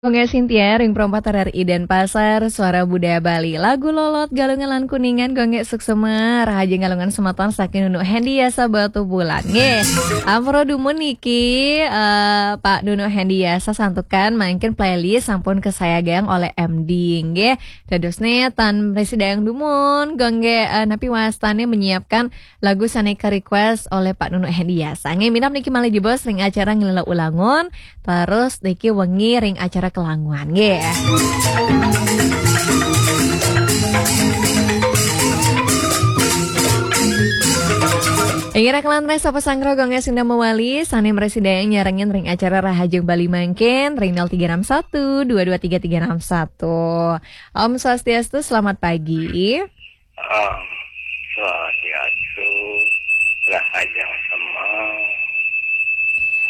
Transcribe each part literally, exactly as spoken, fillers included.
Gonggé Sintia, ring perempat R R I Denpasar, Suara Budaya Bali. Lagu Lolot, Galungan lan Kuningan, Gonggé Suksema, Rahajeng Galungan semeton saking Nunu Hendy Yasa Batubulan. Nggih, ampura dumun niki, eh, Pak Nunu Hendy Yasa santukan mangkin playlist sampun kasayagang oleh M D, nggih. Dadosne tan mresi dayang dumun, Gonggé, eh, napi wastane menyiapkan lagu sane ka-request oleh Pak Nunu Hendy Yasa. Nggih, minab niki malih jebos ring acara Nglelep Ulangun, terus niki wengi ring acara Kelanguan, nggih. Inggih, kalantas sapa sanggra Gonggé Sintia mawali, sane mresi dayang nyarengin ring acara Rahajeng Bali mangkin, ring nol tiga enam satu dua dua tiga tiga enam satu. Om Swastiastu, selamat pagi. Om Swastiastu, Rahajeng Sema.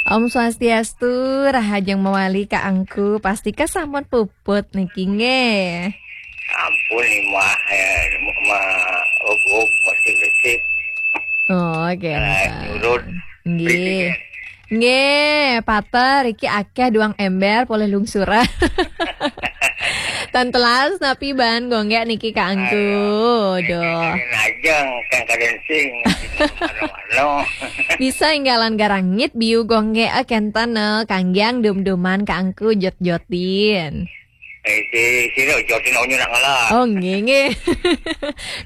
Om Swastiastu, Rahajeng mawali Kak Angku, pastika sampun puput niki nggih. Ampun, Imah, ya, ma, ug, ug, masih bersih. Oh, oke. Eh, nyurut. Nggih. Bersih, ya. Nggih, pater, iki akeh duang ember polih lungsuran. Tan telas napi ban Gonggé niki Kak Angku. Aduh. Duh. Kalian aja, kan kalian sing. Mano-mano. Bisa inggalan garangit biu Gonggé, eh, kenten, eh, kanggiang dum-duman Kak Angku jot-jotin. Eh, si, si lo, jotin onyo nak ngalah. Oh, nggih, nggih.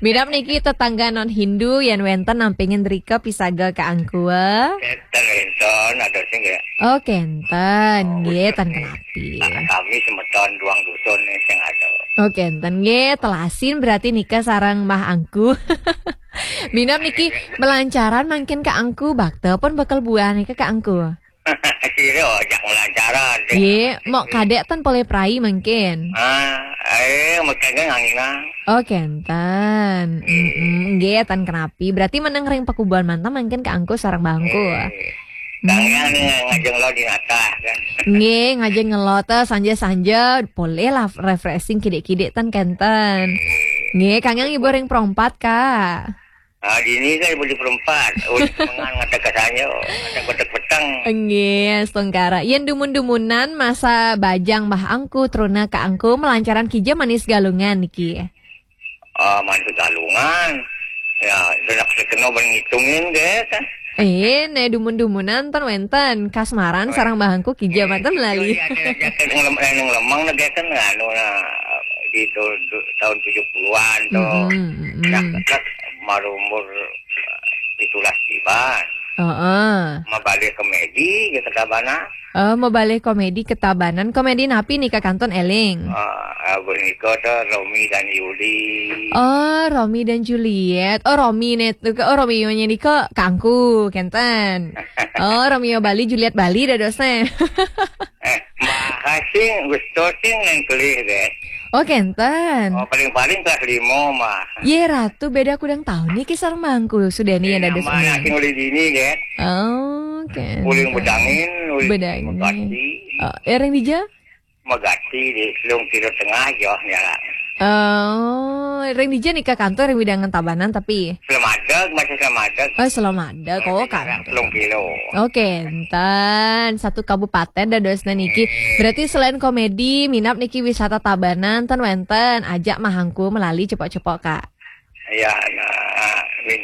Minab niki tetangga non Hindu, yen wenten nampingin rika pisaga Kak Angku, eh. Kenten, kenten, ada sing ya. Oh, kenten. Oh, nggih, betul, tan nih. Kenapi. Nah, kami semeton duang dusun nih sing ada. Oh, kenten. Nggih, telasin berarti nika sareng Mah Angku. Minab niki melancaran mangkin Kak Angku, bakta pun bakal buah nika Kak Angku. Sira ajak melancaran, deh. Nggih, mok kadek tan polih prai mangkin. Ah, eh, makanya nganginang. Oh, kenten. Mm-mm, nggih, tan kenapi. Berarti meneng ring pakubuan mantan mangkin Kak Angku sareng Mah Angku. Eh. Kang Yang nih ngajeng lo di natah, kan. Nggih, ngajeng ngelot, eh, sanja-sanja, boleh lah refreshing kidik-kidik, tan kenten. Nggih, Kang Yang ibu ring perempat, Kak. Ah, dini kan ibu di perempat. Udah mengan ngatak kasanyo, ngatak kotak petang. Nggih, setengkara. Yen dumun-dumunan masa bajang Mah Angku, truna Kak Angku, melancaran kija manis galungan niki. Ah, mantu Galungan. Ya, senak sekeno ben ngitungin, ge, kan. Eh, ne dumun-dumunan ten wenten. Kasmaran sareng Mah Angku kija manten melali. Iya, ada, ada, ada yang lem-, yang lemang, ne, ge, kan, anu, nah, di tu-, tu-, tahun tujuh puluhan tu. Mm-mm, mm-mm. Nah, terus baru umur pitulas tiban. Heeh. Mabalih komedi, ge, ke Tabanan. Oh, mabalih komedi ke Tabanan. Komedi napi nika kantun eling? Ah, ah, punika to Romeo dan Yuli. Oh, Romeo dan Juliet. Oh, Romeo ne, oh, Romeo nya nika Kak Angku, kenten. Oh, Romeo Bali, Juliet Bali dadosne. Eh, Mbah Hasing, Gusto Sing yang kelih deh. Oh, kenten. Oh, paling-paling kelas lima mah. Ye, Ratu, beda kudang tahun nih kisah Mah Angku. Sudah nih, eh, ada nama semua. Asing oleh dini, ge. Oh, kenten. Uling Bedangin, Uling Bedangin. Megati. Oh, eh, ring dija? Megati di Selung Kilo Tengah, jauh nih, lah. Oh, ring dija nika kantun ring wewidangan Tabanan tapi? Selamadeg, masih Selamadeg. Oh, Selamadeg. Oh, kantun. Selung Kilo. Oh, kenten. Satu kabupaten dadosna niki. Hmm. Berarti selain komedi, minab niki wisata Tabanan, ten wenten ajak Mah Angku melali cepok-cepok, Kak. Ya, nah, min,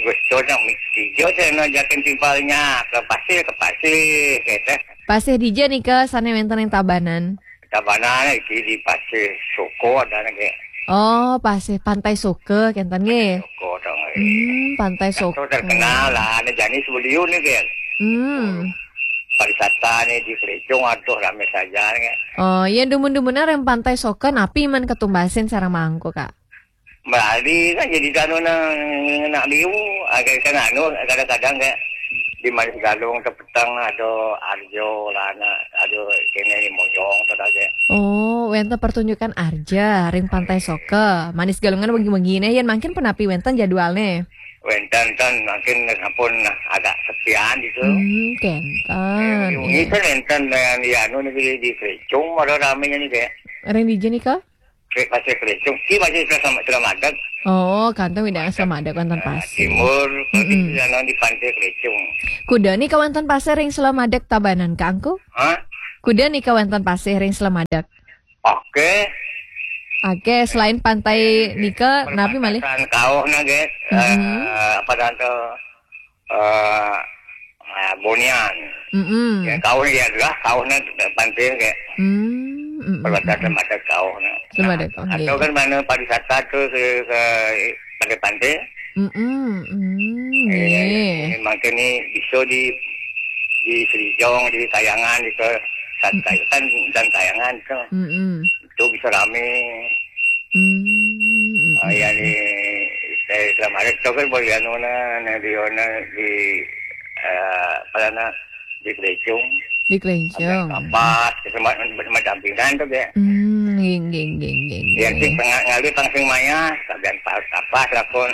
Gusto nang mi-, tiga saya nak jakin timpalnya ke pasir, ke pasir, kata. Pasir dija nika sane wenten ing Tabanan? Tabanan iki di Pasir Soko ada nggih. Oh, Pasir, Pantai Soka, kenten nggih. Soko dong, eh. Hmm, Pantai Soko. Terkenal lah, ada jani sebeliau nih, kan. Hmm. Pariwisata nih di Selicung, aduh, rame saja, nih. Oh, ya, dumun-dumunan ring Pantai Soka, napi man ketumbasin sareng Mah Angku, Kak? Melali kan jadi anu nang nak liu, agak kan anu kadang-kadang kayak di Manis Galung tepetang ada Arjo lah, ada kene ni Mojong tu aja. Oh, wenten pertunjukan arja ring Pantai Soka. Manis Galungan wengi-wengi ne, yen mangkin punapi wenten jadwalne? Wenten ten, mangkin sampun agak sepian gitu. Hmm, kenten. Eh, wengi-wengi kan wenten, eh, di anu ni di, di Selicung ada ramenya ni, kayak. Ring dija nika? Kre-, Pasir Kelicung. Ki masih Selamadeg. Oh, kantun wewidangan Selamadeg wonten pasir. Timur, mm-mm, di sana di Pantai Kelicung. Kuda nika wonten pasir ring Selamadeg Tabanan, Kak Angku? Hah? Kuda nika wénten pasih ring Slemadeg? Oké. Oké, selain pantai nika, napi malih? Perbatasan kauhna, gé. Mm-mm. Eh, apa tante? Eh, ah, Bonian. Mm-mm. Ya, kauh ya adalah kauhna pantai, gé. Mm, mm, mm, perbatasan mm. Slemadeg kauhna. Slemadeg, nah, oké. Atau kan mana pariwisata tuh ke, ke pantai-pantai? Mm-mm, mm, eh, iya. Ini mangkin ini bisa di di Srijong, di Kayangan, di ke Sat-, hmm. Kayangan dan Kayangan itu. Mm-mm. Itu bisa rame. Hmm, mm-mm. Ah, ya, di, dari Slemadeg itu kan boleh anu nah, nah, di, nah, di, eh, apa nah, di Klejong. Di Klejong. Ada Kapas, itu ma-, ma-, macam pinggan tuh, ya. Hmm, nggih, nggih, nggih, nggih, ya, nggih. Sih, tengah ngalih langsung maya, sabian pas apa lakon.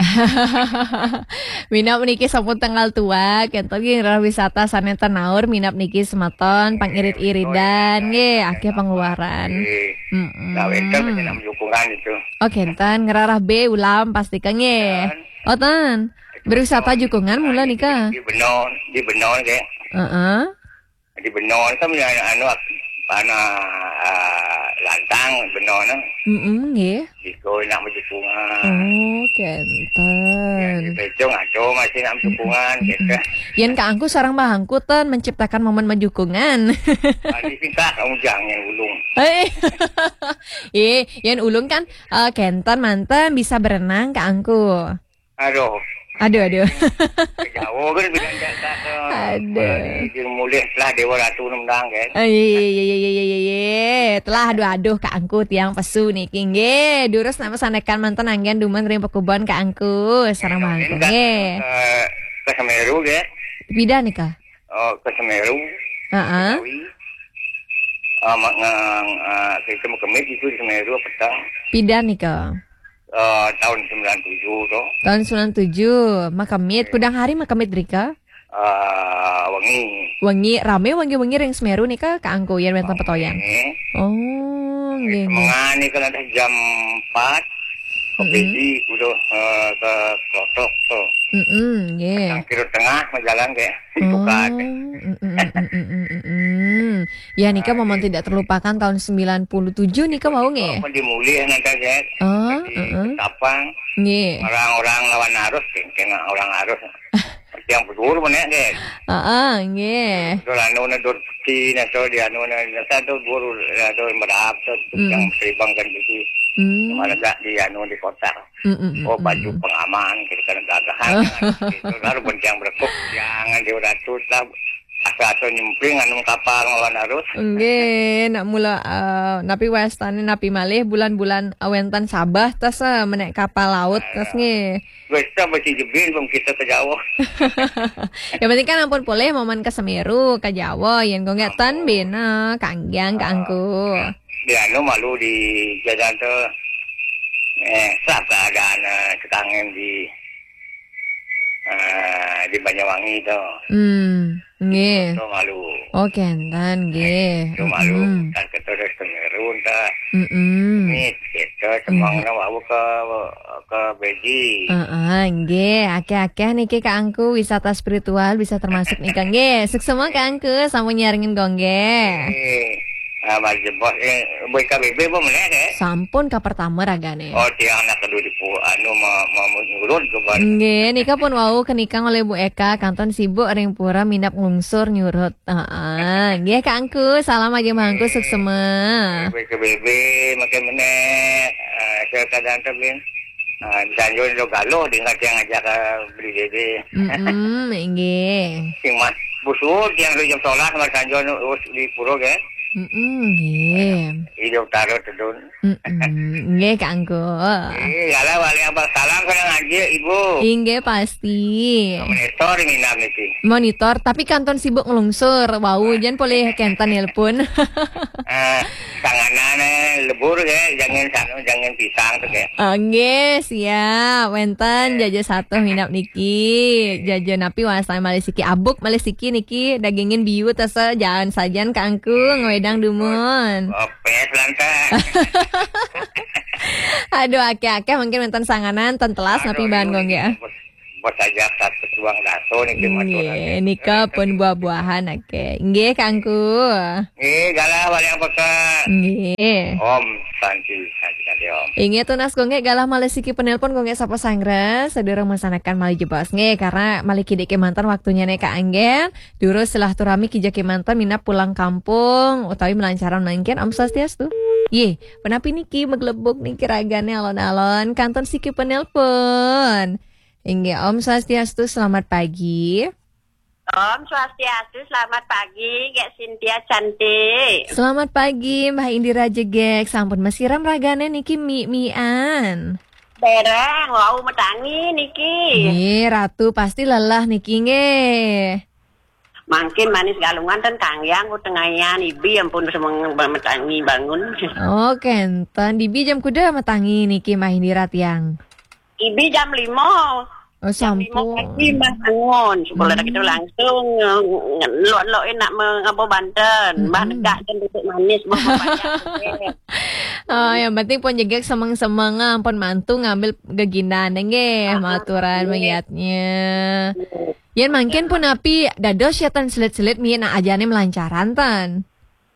Minab niki sampun tanggal tua, kénten nggih rerah wisata sané tanaur minab niki semeton, pangiridan-iridan nggih, akéh pengeluaran. Nggih. Mm-mm. Nah, wénten mesti nambah dukungan itu. Oh, kénten ngrerah bé ulam pasti ka nggih. Wénten. Oh, ten. Berwisata Jukungan mula nika. Di Benon, di Benon, gé. Heeh. Di Benon kan anu, anu, apa nah, ah, lantang Benon. Mm-mm, nggih. Gitu, nak majukungan. Oh, kénten. Ya, di Bejong ada masih nak majukungan, mm-mm, gitu. Yén Kak Angku sareng Mbah Angku ten menciptakan momen majukungan. Tadi sih, Kak, kamu jangan ulung. Eh. Eh, yén ulung kan, eh, kénten manten bisa berenang, Kak Angku. Aduh. Aduh, aduh. Jauh kan bilang jasa ke. Aduh. Di, di mulih lah Dewa Ratu nendang kan. Ah, iya, iya, iya. Telah aduh, aduh, Kak Angku tiang pesu niki nggih. Durus nama sanekan manten anggén dumun ring pakubon Kak Angku. Sareng Mbah Angku nggih. Ke, ke Semeru nggih. Pidan nika? Oh, ke Semeru. Heeh. Betawi. Ah, ma-, ngang, ah, kita makemit itu di Semeru petang. Pidan nika? Eh, tahun sembilan tujuh tuh. Tahun sembilan tujuh, makemit. Iya. Kudang hari makemit drika? Eh, wengi. Wengi, ramé wengi-wengi ring Semeru nika, Kak Angku, yén wénten petoyan? Ramé. Oh, nggih, nggih. Semengan nika ada jam empat, ke, mm-mm, Pidi, udah, eh, ke Klotok tuh. Mm-mm, nggih. Petang kilo tengah, mau jalan kayak. Oh, mm, mm, mm, mm, mm, mm, mm. Ya, nika momen tidak terlupakan tahun sembilan puluh tujuh nika wau nggih. Apa dimulih nanti, Jet? Oh, jadi heeh. Ketapang. Nggih. Orang-orang lawan arus, kengkeng orang arus. Yang betul mana, Jet? Heeh, nggih. Betul anu na dur peti, na so di anu na, na sa tu dur, na dur merap, so, hmm, yang seribang kan gitu. Hmm. Mana tak di anu di kota. Mm, mm, mm, oh, baju, mm, pengaman, kira-kira gagahan. Gitu, baru pun yang berekuk, jangan di Ratu lah. Asa-asa nyempling anu kapal ngelawan arus. Nggih, nak mula, eh, napi wastané, napi malih bulan-bulan, eh, wénten Sabah, tas, eh, menék kapal laut, tas, nggih. Wis, tak mesti jebin, belum kita ke Jawa. Yang penting kan ampun polih momen ke Semeru, ke Jawa, yén kok nggak ten ampun. Bena, kanggiang, Kak Angku. Di anu malu di jalan tu, eh, sab keadaan, eh, sekangen di, eh, di Banyuwangi tu. Hmm, nggih. Tu malu. Oh, kénten, nggih. Tu malu. Mm-mm. Tak keterus Semeru, tak. Mm-mm. Mit, gitu, semang, mm, na wau ke, ke Beji. Heeh, nggih. Akéh-akéh niki Kak Angku, wisata spiritual bisa termasuk nika. Nggih, suksma Kak Angku, sampun nyarengin gonggé. Nggih. Ah, Mas Jebos, eh, B K B B apa meneh, eh? Sampun ka pertama ragané. Oh, tiang anak kedua di pu-, anu, ma-, ma-, nyurut ke ban. Nggih, nika pun wau kenikang oleh Bu Eka, kantun sibuk ring pura minab nglungsur nyurut. Heeh. Nggih, Kak Angku, salam aja Mbah Angku, suksma. B K B B, makin meneh. Ah, saya kadang tu, Bin. Ah, bisa nyurut lo galuh, dia ngajak, ngajak, ah, beli B B. Mm-mm, nggih. Sing mas, busur, tiang dua jam sholat, mas sanjo, us, di pura, kan? Mm-mm, nggih. Di utara, tedun. Mm-mm, nggih, Kak Angku. Eh, yalah, wali abang salam, kena ngaji, Ibu. Inggih, pasti. Monitor, minam, niki. Monitor, tapi kantun sibuk ngelungsur. Wau, jan polih kenten nelpon. Eh, tanganan, eh, lebur, ya, jangan sanu, jangan pisang, tuh, ya. Ah, nggih, siap. Wénten jaja satuh minab niki. Jaja napi wastané malih siki abuk, malih siki niki dagingin biu tasa jaan sajan Kak Angku ngwédang dumun. Oh, pes lantas. Aduh, akéh-akéh mungkin wénten sanganan, ten telas napi bahan gong ya. Bos aja satu tuang daso niki matur. Nggih, nika pun buah-buahan, oke. Nggih, Kangku. Nggih, galah balik apa ke? Nggih. Om Santi, Santi, Santi, Om. Inggih, tunas Gung Gek galah malih siki penelpon Gung Gek sapa sanggra, sedurung mangsanakan malih jebos. Nggih, karena malih kidik kemanten waktunya nih Kak Anggen. Durus silaturahmi kija kemanten minab pulang kampung utawi melancaran mangkin. Om Swastiastu. Yeh, penapi niki meglebuk niki ragane alon-alon kantun siki penelpon. Inggih, Om Swastiastu, selamat pagi. Om Swastiastu, selamat pagi, Gek Cynthia cantik. Selamat pagi, Mbah Indira Jegek. Sampun masiram ragane niki mi-mian. Dereng, wau metangi niki. Nggih, Ratu pasti lelah niki nggih. Mangkin manis galungan ten kangyang ku tengayan ibi ampun semeng metangi bangun. Oh, kenten. Dibi jam kuda metangi niki Mbah Indira tiang. Ibi jam lima. Oh, jam lima sampun. Pagi Mbah bangun. Sekolah kita langsung nge-, nge-, lok-lok enak mengapa banten. Mbah negak dan duduk manis, Mbah pepaya. Oh, yang penting pun jegek semeng-semeng, ampun mantu ngambil geginan nggih, maturan nggih. Melihatnya. Yen mangkin pun api dados ya tan selit-selit mi nak ajane melancaran tan.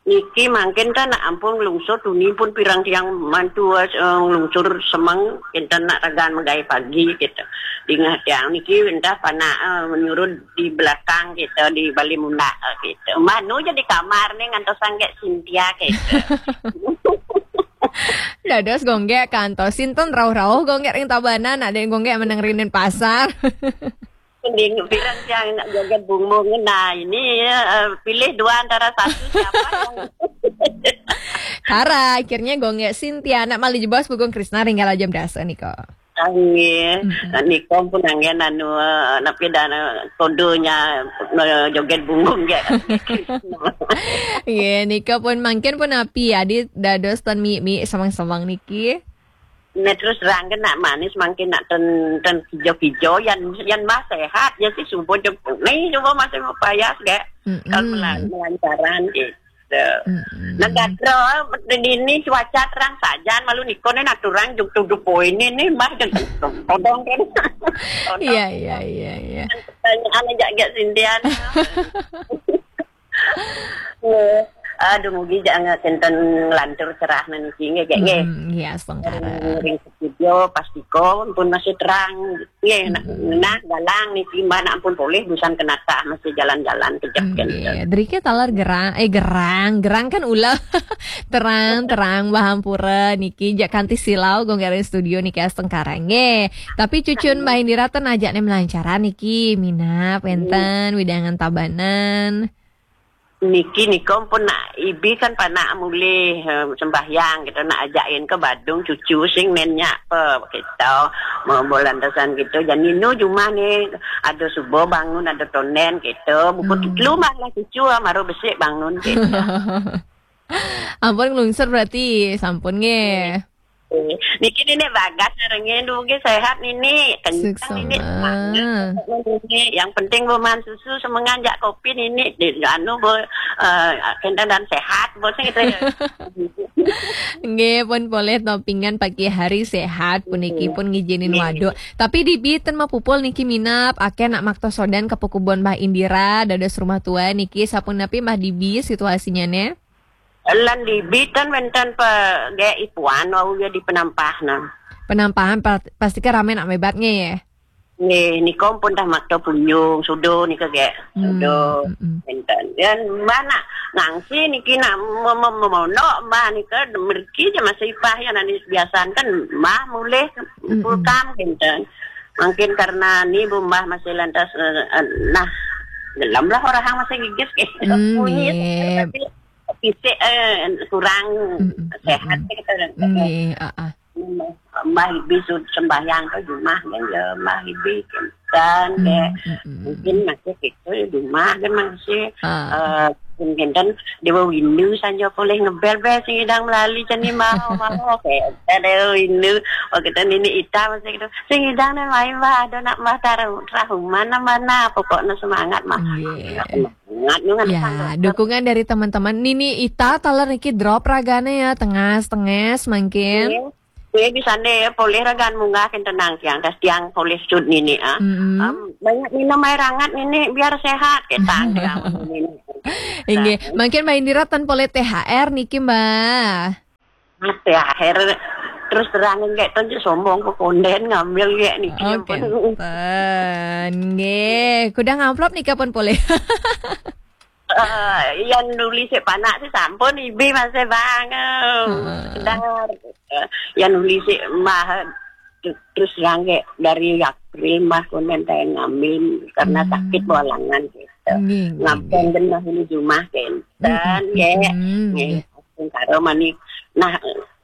Niki mangkin kan nak ampun nglungsur tuni pun pirang tiang mantu, eh, nglungsur semeng kinten nak ragan megai pagi gitu. Dingah tiang niki entah panak, eh, menyurut di belakang gitu, di bali mundak, eh, gitu. Manu jadi kamar nih ngantos sanggek Cynthia gitu. Dados Gung Gek kantos sinten rauh-rauh Gung Gek ring Tabanan, ada yang Gung Gek meneng rinin pasar. Mending bilang yang nak joget bungung. Nah, ini, eh, pilih dua antara satu siapa yang Kara, akhirnya Gung Gek Cynthia, nak malih jebos Bugong Krisna ring galah jam dasa nika. Nggih. Nah, nika pun anggen anu, eh, napi dana kodenya, eh, joget bungung ya. Nggih, nika pun mangkin pun api adi dados tan mi-mi samang-samang niki. Nah, terus terang kan nak manis mangkin nak ten, ten kijo-kijo yang, yang mah sehat ya sih subuh jam ni coba masih mau payas gak. Kalau melan-, melancaran gitu. Nah, gatro ini cuaca terang saja malu niko nih nak turang jung tuduh poin ini mah jung todong kan. Todong. Iya, iya, iya, iya. Pertanyaan aja gak Cynthia. Nggih. Aduh, mugi jangan kenten lantur cerah niki nggih, Gek, nggih. Hmm, nggih, astungkara. Ring studio pastiko pun masih terang. Nggih, nah, nah, galang niki mbah nak pun polih busan kenatah masih jalan-jalan kejap kenten. Nggih, drike taler gerang, eh, gerang, gerang kan ula. Terang, terang, mbah ampura niki jak kanti silau gong ring studio niki astungkara. Nggih. Tapi cucun Mbah Indira ten ajak ne melancaran niki, minap, wenten, widangan Tabanan. Niki nikom pun nak ibi kan panak mulih, eh, sembahyang gitu, nak ajakin ke Badung cucu sing nenyak pe gitu, mau bolan tasan gitu. Jadi nu jumah ni ada subuh bangun, ada tonen gitu. Buku telu mah lah cucu, ah, maru besik bangun gitu. Ampun nglungsur berarti, sampun nggih. Niki nini bagas ngerengen dugi sehat nini. Kencang nini semangat. Nini. Yang penting bu man susu semengan jak kopi nini. Di, anu bu, eh, kenten dan sehat bu sing gitu ya. Nggih, pun boleh topingan pagi hari sehat puniki pun ngijinin waduk. Tapi di biten mah pupul niki minap akeh nak makta sodan ke pekubon Mbah Indira dados rumah tua niki sampun napi Mbah Dibi situasinya ne? Lan di biten wenten pe ge ipuan wau ya di penampah nah. Penampahan pa-, pasti ke rame nak mebat nggih ya. Nggih, nikom pun dah makta punyung sudo nika ge. Sudo wenten. Yan mbah nak ngangsi niki nak me-, me-, memonok mbah nika merki je masih ipah ya nani biasan kan mbah mulih pulkam wenten. Mungkin karena ni bu mbah masih lantas, eh, eh, nah gelem lah orang masih gigis ke. Nggih. Fisik, eh, kurang sehat kita. Nggih, heeh. Mbah Ibi sud-, sembahyang ke jumah kan ya, Mbah Ibi kan ke. Mungkin masih gitu ya, jumah kan masih, eh, mungkin kan Dewa Windu sanja boleh ngebel-bel sing idang melali jani mau, mau kayak Dewa Windu. Oh, kita nini ita masih gitu. Sing idang dan main mbah, ada nak mbah taruh, taruh mana, mana, pokoknya semangat mah. Nggih. Semangat, nungan. Ya, sangat. Dukungan dari teman-teman. Nini Ita taler niki drop ragane ya, tengas-tenges mangkin. Nggih. Nggih, bisané polih ragan munggah kénten nangkiang, tas tiang polih sud nini, ah. Mm-mm. Am, banyak minum air hangat nini biar sehat, ketang tiang nini. Inggih, mangkin Mbah Indira ten polih T H R niki, Mbah. Nah, T H R terus terang nggih ten sombong ke konden ngambil nggih niki. Oh, ampun. Kenten. Nggih, kudang amplop nika pun polih. Eh, yang nulis si panak si sampun ibi masih bang. Heeh. Sekedar, eh, yang nulis si mah terus terang kayak dari April mah konden teh ngambil karena Hmm. sakit bolangan gitu. Nggih, nggih, Ngampun nggih. Genah ini jumah kenten Mm-mm. ya. Mm-mm. Nggih. Nggih. Astungkara mani. Nah,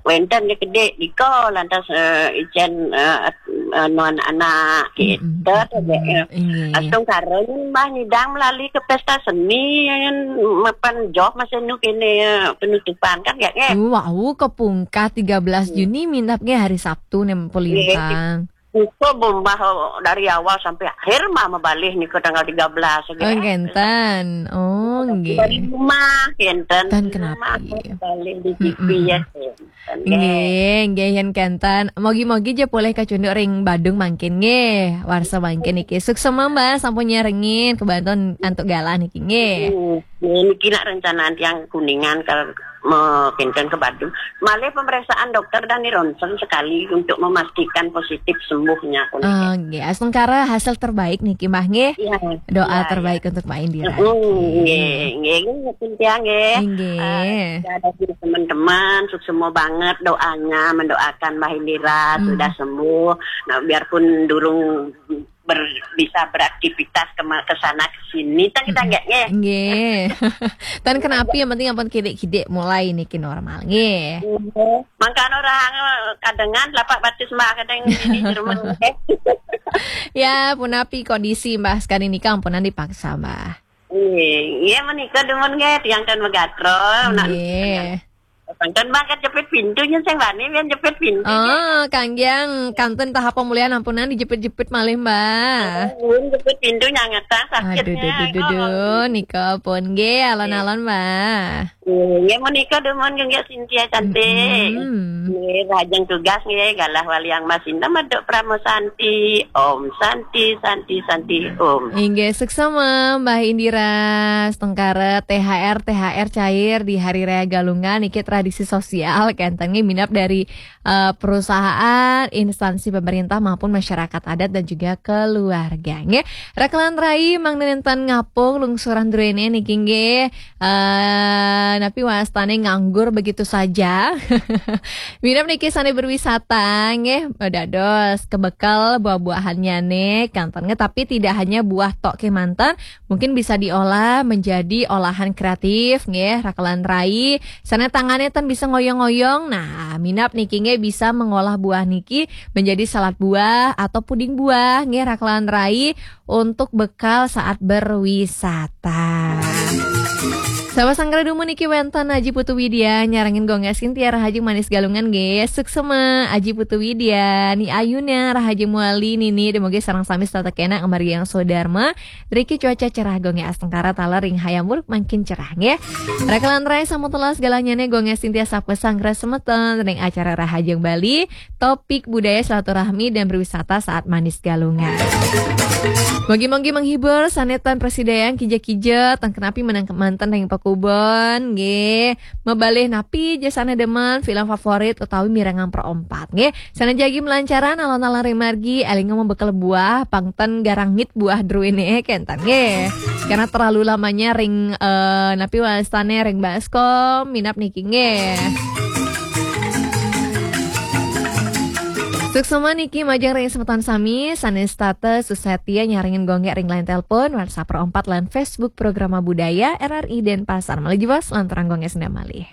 wenten dia gede diko lantas, eh, icen, eh, at-, eh, nuan anak gitu. Mm-mm. Terus ya, ya. Inggih. Astungkara ni mbah nyidang melalui ke pesta seni yang mapan job masih nu kene, eh, penutupan kan ya, ya. Wau kepungkah tiga belas Hmm. Juni minapnya hari Sabtu nem Nggih. Pelintang. Buka bombah dari awal sampai akhir mah mabalih nika tanggal tiga belas Oh, gitu. Kenten. Oh, Dari nggih. Rumah kenten. Tan Di kenapi. Rumah mabalih di T V Mm-mm. ya kenten. Nggih, nggih yen kenten. Mogi-mogi je polih kacunduk ring Badung mangkin nggih. Warsa mangkin niki. Suksema Mbah sampun nyarengin kebantu antuk galah niki nggih. Hmm. Nggih, niki nak rencanaan tiang Kuningan kalau mau kenten ke Badung. Malih pemeriksaan dokter dan ronsen sekali untuk memastikan positif sembuhnya. Oh, nggih. Astungkara hasil terbaik niki Mbah nggih. Iya. Doa Iya, terbaik iya. Untuk Mbah Indira. Mm, nggih, nggih, nggih, Cynthia nggih. Nggih. Eh, ada juga teman-teman, suksema banget doanya mendoakan Mbah Indira Hmm. sudah sembuh. Nah, biarpun durung ber-, bisa beraktivitas ke ma-, ke sana ke sini, tan kita Mm-mm. nggak nggih. Nggih. Tan kenapi yang penting ampun kidik-kidik mulai niki normal nggih. Nggih. Mangkana orang, eh, kadengan lapak batis Mbah kadang ini di rumah nggih. Ya, punapi kondisi Mbah sekali nika ampunan dipaksa Mbah. Nggih, nggih menika dumun nggih tiang ten megatra, nak Nggih. Kanten Mbah kan jepit pintu nyen sing wani mbiyen jepit pintu. Oh, kanggiang kanten tahap pemulihan ampunan dijepit-jepit malih, Mbah. Oh, nuwun jepit pintu nyangetang sakitnya. Aduh, duh, duh, duh, duh. Oh. Nika pun nggih alon-alon, Mbah. Nggih, menika dumun nggih Cynthia cantik. Mm-mm. Nggih, lajeng tugas nggih galah waliang Mas Indah Maduk Pramo Santi. Om Santi, Santi, Santi, Om. Inggih, suksema Mbah Indira Astungkara, T H R, T H R cair di Hari Raya Galungan niki tradisi sosial kenten nggih minab dari, eh, perusahaan, instansi pemerintah maupun masyarakat adat dan juga keluarga nggih. Rakelan rai mangda nenten ngapung lungsuran druene niki nggih. Eh, napi wastane nganggur begitu saja. Minab niki sane berwisata nggih, dados kebekel buah-buahannyane kanten nggih, tapi tidak hanya buah tok kemanten, mungkin bisa diolah menjadi olahan kreatif nggih, rakelan rai. Sane tangane ten bisa ngoyong-ngoyong. Nah, minab niki nggih bisa mengolah buah niki menjadi salad buah atau puding buah nggih, rakelan rai untuk bekal saat berwisata. Sahabat Sanggra Dumun niki wenten Aji Putu Widya nyarengin Gongnya Sintia Rahajeng Manis Galungan nggih. Suksema Aji Putu Widya, Ni Ayuna Rahajeng Muali nini demoge sareng sami setata kena ngemari yang sodarma. Driki cuaca cerah Gongnya Astungkara taler ring hayam muruk mangkin cerah nggih. Rakelan rai sampun telas galanyane Gongnya Sintia sapa Sanggra semeton ring acara Rahajeng Bali. Topik budaya silaturahmi dan berwisata saat Manis Galungan. Mogi-mogi menghibur, sane tan prasidayan kija-kija, tan kenapi menang kemanten ring pakubon, nggih. Mabalih napi ja sane demen, film favorit utawi mirengang perompat, nggih. Sane jagi melancaran alon-alon ring margi, elinga membekel buah, pang ten garangit buah druene kenten, nggih. Karena terlalu lamanya ring, eh, napi wastane ring baskom, minab niki, nggih. Suksema niki majeng ring semeton sami, sane setata susetia nyarengin Gongnya ring line telepon, WhatsApp perompat lan Facebook Programa Budaya R R I Denpasar. Malih jebos, lanturang Gongnya senda malih.